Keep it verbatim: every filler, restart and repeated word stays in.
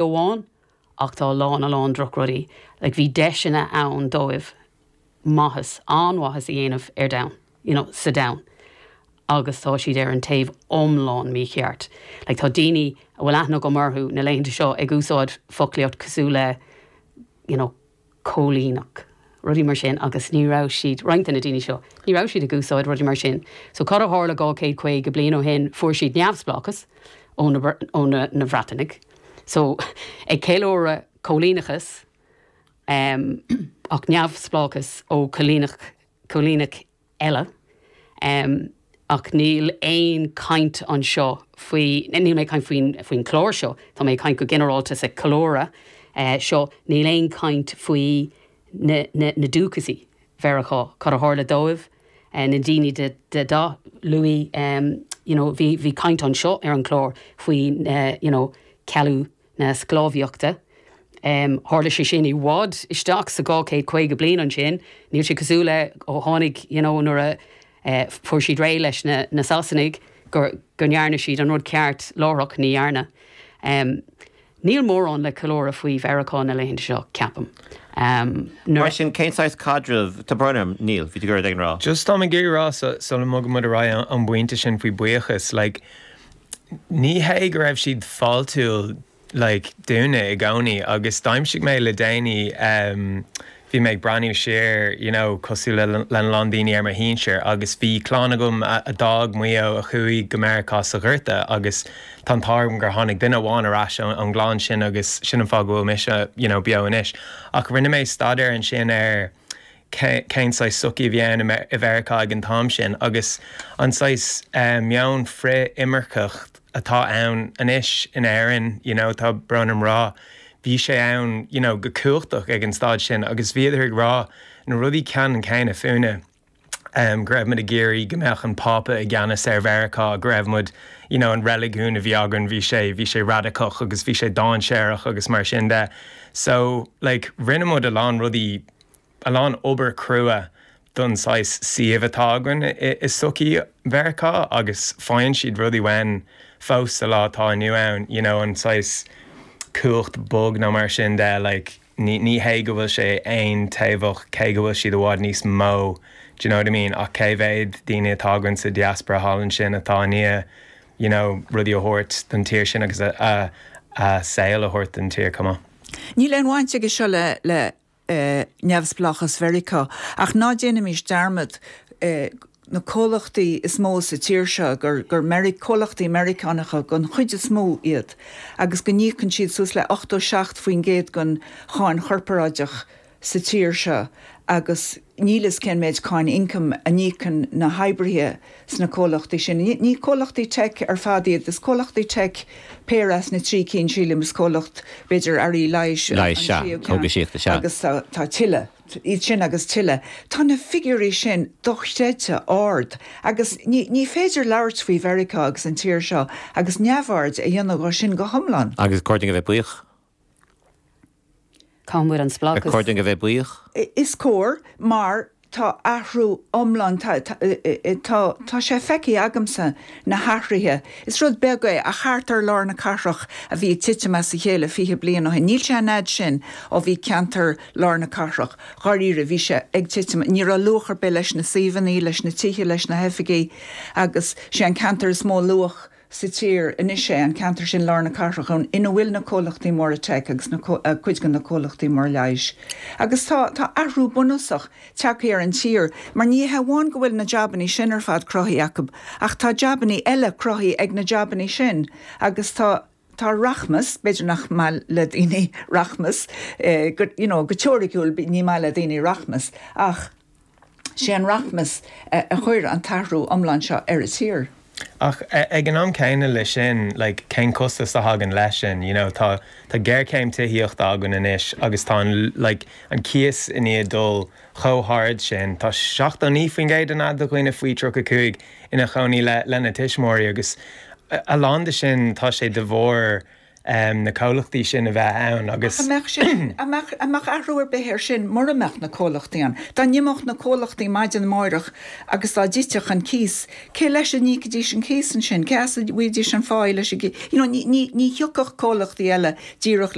Amháin, ach tá a lán a lán drochrudaí. Like, bhí deiseanna ann dóibh maitheas, an-mhaitheas a dhéanamh ar domhan, you know, sa domhan. Agus tá siad ar an taobh iomlán mícheart. Like, tá daoine a bhfuil aithne agam orthu na laethanta seo ag úsáid foclaíocht cosúil le you know, cóilíneach, rudaí mar sin, agus ní raibh siad, roinnt de na daoine seo, ní raibh siad ag úsáid rudaí mar sin. So cad a tharla dhá chéad caoga bliain ó shin? Fuair siad neamhspleáchas ó na, ó na, na Breatanaigh. So ag ceiliúradh cóilíneachas, um, ach neamhspleáchas ó choilíneach coilíneach eile. Um, ach níl aon caint anseo faoi, níl mé caint faoin faoin chlár seo, tá mé caint go ginearálta sa ceiliúradh uh, seo, níl aon caint faoi na, na, na dúchasaigh Mheiriceá, cad a tharla dóibh, uh, na daoine de, de dath luaidhe, um, you know, bhí, bhí caint anseo ar an chlár faoi uh, you know, cealú na sclábhaíochta. Um, Tharla sé sin i bhfad isteach sa dhá chéad caoga bliain ansin, níl sé cosúil le ó tháinig you know, nuair a uh, fuair siad réidh leis na, na Sasanaigh gur go ndearna siad an rud ceart láithreach. Ní dhearna. Um, Níl mórán le ceiliúradh faoi Mheiriceá na laethanta seo, ceapaim. Um, Mar sin, cén saghas caidreamh tá bronnam níl bhí go ag rá. Just tá ag rá sula mbogann muid ar aghaidh an bpointe sin faoi buíochas, like, ní hé go raibh siad fáiltiúil, like, dúinne i gcónaí. Agus d'aimsigh mé le déanaí, um, bhí mé ag breathnú siar you know, cosúil le le lán daoine ar mo shinsir, agus bhí clann agam a, a d'fhág Maigh Eo a chuaigh go Meiriceá sa Ghorta, agus tá an t-ádh gur tháinig duine amháin ar ais ón gclann sin, agus sin an fáth go bhfuil mise you know, beo anois. Ach rinne mé staidéar ansin ar cén saghas sochaí a bhí ann i Mheiriceá ag an t-am sin, agus an saghas um, meon frith-imirceach atá ann anois in Éirinn, you know, tá brón orm rá, bhí sé ann you know, go cumhachtach ag an staid sin, agus bhíodar ag rá na rudaí ceannann céanna fúinne. Um, go raibh muid ag iarraidh go mbeadh an Pápa i gceannas ar Mheiriceá, go raibh muid you know, an reiligiún a bhí againn, bhí sé bhí sé radacach agus bhí sé dainséarach agus mar sin de. So, like, rinne muid a lán rudaí, a lán obair crua don saghas suíomh atá againn i sochaí Mheiriceá, agus faigheann siad rudaí uainn fós sa lá atá inniu ann, you know, an saghas cumhacht bog nó mar sin de. Like, ní ní hé go bhfuil sé aontaobhach, cé go bhfuil siad i bhfad níos mó, do you know what I mean? Ach cé mhéad daoine atá againn sa diaspora thall ansin atá i ndiaidh you know, rudaí a thabhairt don tír sin agus a, a, a saol a thabhairt don tír cuma. Níl aon bhaint aige seo le le uh, neamhspleáchas Mheiriceá, ach ná déanaimis dearmad uh, na comhlachtaí is mó sa tír seo gur gur Meic comhlachtaí Meiriceánacha den chuid is mó iad, agus go n-íocann siad suas le ochtó seacht faoin gcéad den cháin chorparáideach sa tír seo, agus níl a fhios cén méid cáin ioncaim a n-íocann na hoibrithe sna comhlachtaí sin. Ní, ní comhlachtaí tech ar fad iad, is comhlachtaí tech péire as na trí cinn, sílim, is comhlacht b'fhéidir earraí leighis agus tá, tá tuilleadh iad sin agus tuilleadh. Tá na figiúirí sin dochreidte ard, agus ní, ní féidir labhairt faoi Mheiriceá agus an tír seo agus neamhaird a dhéanamh de sin go hiomlán. Agus cóir dúinn a bheith buíoch? Cámúid an spleáchas. Cóir dúinn a bheith buíoch? Is cóir, mar tá athrú iomlán, tá tá sé feicthe agamsa na hathruithe. Is rud beag é a thart ar lár na cathrach a bhí titim as a chéile fiche bliain ó shin. Níl sé an fhad sin ó bhí ceantar lár na cathrach. Dháiríre, bhí sé ag titim, ní raibh luach ar bith leis na suíomhanna, leis na tithe, leis na hoifigí, agus sé an ceantar is mó luach sa tír anois é an ceantar sin lár na cathrach ann ina bhfuil na comhlachtaí móra tech agus na cuid de na comhlachtaí mór leighis. Agus tá tá athrú bunúsach tagtha ar an tír, mar ní hamháin go bhfuil na jabanna sin ar fad cruthaithe acu, ach tá jabanna eile cruthaithe ag na jabanna sin, agus tá tá rachmas, b'fhéidir nach maith le daoine rachmas, eh, go, you know, go teoiriciúil ní maith le daoine rachmas, ach sé an rachmas eh, a chuir an t-athrú iomlán seo ar an tír. Ach ag an am céanna leis sin, like, cén costas a thagann leis sin? you know, tá tá géarchéim tithíochta againn anois, agus tá an, like, an cíos i ndiaidh dul chomh hard sin. Tá seachtó naoi faoin gcéad de dhaoine faoi tríocha cúig ina chónaí le lena tuismitheoirí, agus a lán de sin tá sé de bharr um, na comhlachtaí sin a bheith ann agus An mbeadh athrú ar bith air sin mura mbeadh na comhlachtaí ann. Dá n-imeodh na comhlachtaí maidin amárach agus dá dtitfeadh an cíos, cé leis a n-íocfaidís an cíos ansin, cé as a bhfaighidís an phá leis you know, ní, ní, ní thiocfadh comhlachtaí eile díreach